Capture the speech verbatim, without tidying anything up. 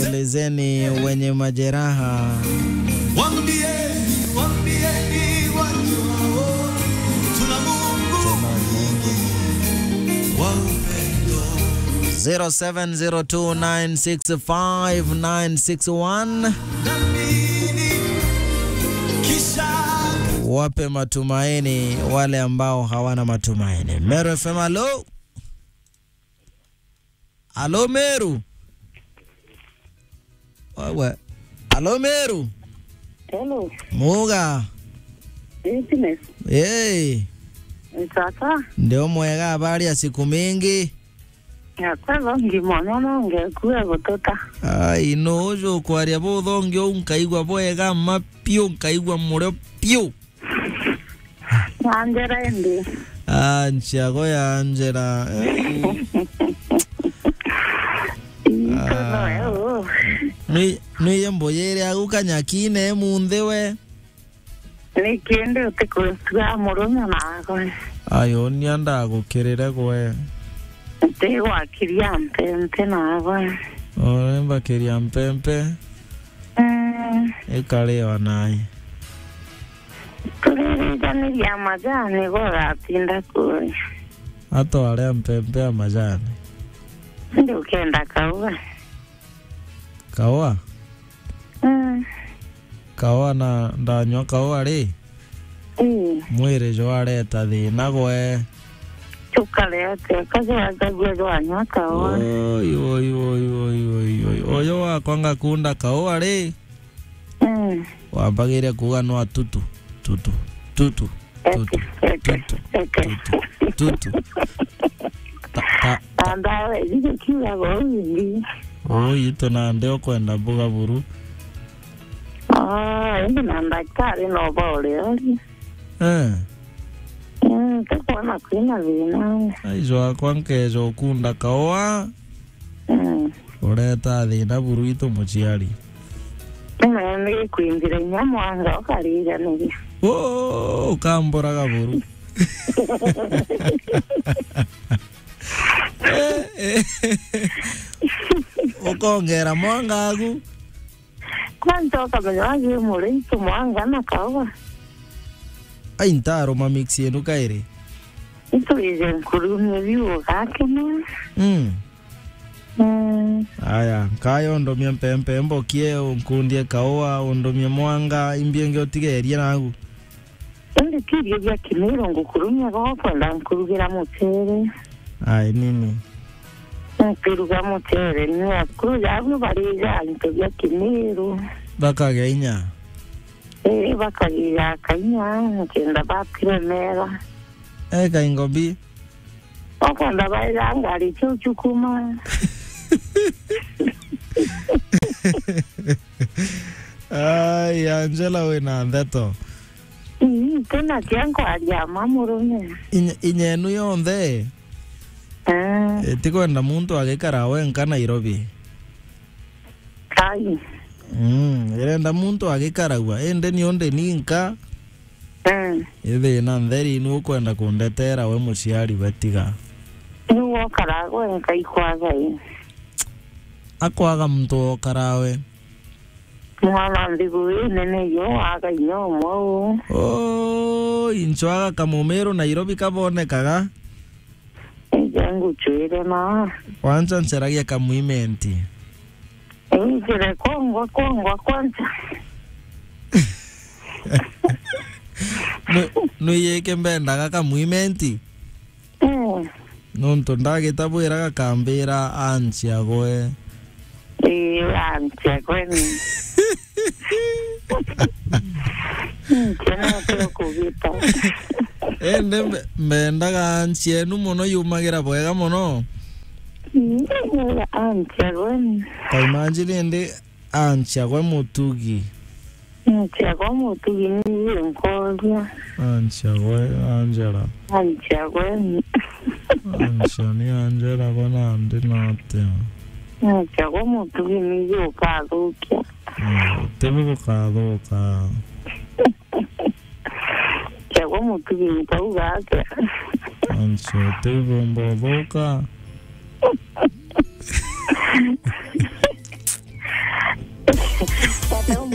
Elezeni wenye majeraha. Waambieni, waambieni watu hao, tuna Mungu mwingi wa upendo. Zero seven zero two nine six five nine six one. Wape matumaini wale ambao hawana matumaini. Meru F M, halo? Halo, Meru? Wewe. Halo, Meru? Hello. Muga? Business. Hey. Sasa. Ndio mwega, habari ya siku mingi? Ya, kwa hivyo ngimono no ngekue gututa. Ai, no, uju kwaria buthongi uu nkaigua bwega ma piu, nkaigua murio piu. Angela indi. Ah, nchiago ya Angela. Eh. Ito no eu. Nui, nui mbuyire agu kanyakine munthi we. Ni kindi utikwitua murume naagwe. Ayo, nia ndagukirire gwe. Ntigwakiria mpempe naagwe. Ore mbakiria mpempe. Mm. Ikariwa naye. Turirijaniria majani, gwe ugatinda kuria. Atware mpempe ya majani. Ndi ukenda kaua. Kaua? Mm. Kaua na ndanyua kaua ri? Ii. Mwiri jwareta thina gwe. Tukarete, kajwangagua jwanyua kaua. Oi, oi, oi. Uyu wakwa ngakunda kaua ri? Mm. Wambagiria kuuga nwa tutu, tutu, tutu, tutu, eke, tutu, eke, tutu, tutu. Ta, ta, ta. Na ndawa icio ciugaga uu ingi. Uu itu nandi ukwenda mbuga buru. Ah, indi na ndagitari no bauriori. Eh. Mm, tukwona kwina thina. Aijo akwa nkeja ukunda kaua. Mm. Ureta thina buru itu muciari. Ni kwinjira inya mwanga ukarijaniria. Oh, ukamburaga buru. Eh, eh. Ukongera mwanga aku. Kwanza ukamenya wagi muri itu mwanga na kaua. Ai, ntaruma mix yenu kairi. Itwije nkurumie biu ugakena. Mm. Mm. Aya, nkaya undomie mpempe mbokie, unkundie kaua, undomie mwanga, imbi ingi utigerie nagu. Indi ti irio bia Kimiru ngukurumia, gwa kwenda nkurugira mucere. Ai, nini? Nkiruga mucere, ni akuru jabu barija into bia Kimiru. Bakagia inya? Ii, bakagia kainya, nkenda batiremera. Eh, kaingo bi. Okwenda baira ngari ciu ciukuma. Ai, Angela, wina ndeto. Ii, tena kia nkwaria ma murume. Inya-, inya enu yonthe? Eh. Itikwenda muntu agikara wenka Nairobi. Ai. Mm, irenda muntu agikaragua, indi ni undi ninka. Mm. Ithina ntheri ni ukwenda kundetera we muciari we tiga. Ni wokara gwe nkaikwaga i. Akwaga muntu wokara we. Mwana nthigu ii nene yo waga inya umwe uu. Oi, ncwaga kamumiru Nairobi kabonekaga. Ija nguchwire na. Kwanza nceragia kamwimenti. Ii, njire kwongwa, kwongwa kwanza. Nu-, nuyike mbendaga kamwimenti? Mm. Nontu ndagita bwira gakambira anchia gwe. Ii, anchia gwe ni. Nkena tu kugita. Indi mbe-, mbendaga anchia enu mono yumagira bwega mono. Ii, anchia gwe ni. Ta imagine indi Anchia gwe mutugi. Anchia gwe mutugi ni nkoria. Anchia gwe Angela. Anchia gwe. Anchia ni Angela gwe nandi natia. Anchia gwe mutugi ni ukathukia. Mm, tibi gukathuka. Anchia gwe mutugi nkauga atia. Anchia tibi mbothuka. Tata umwe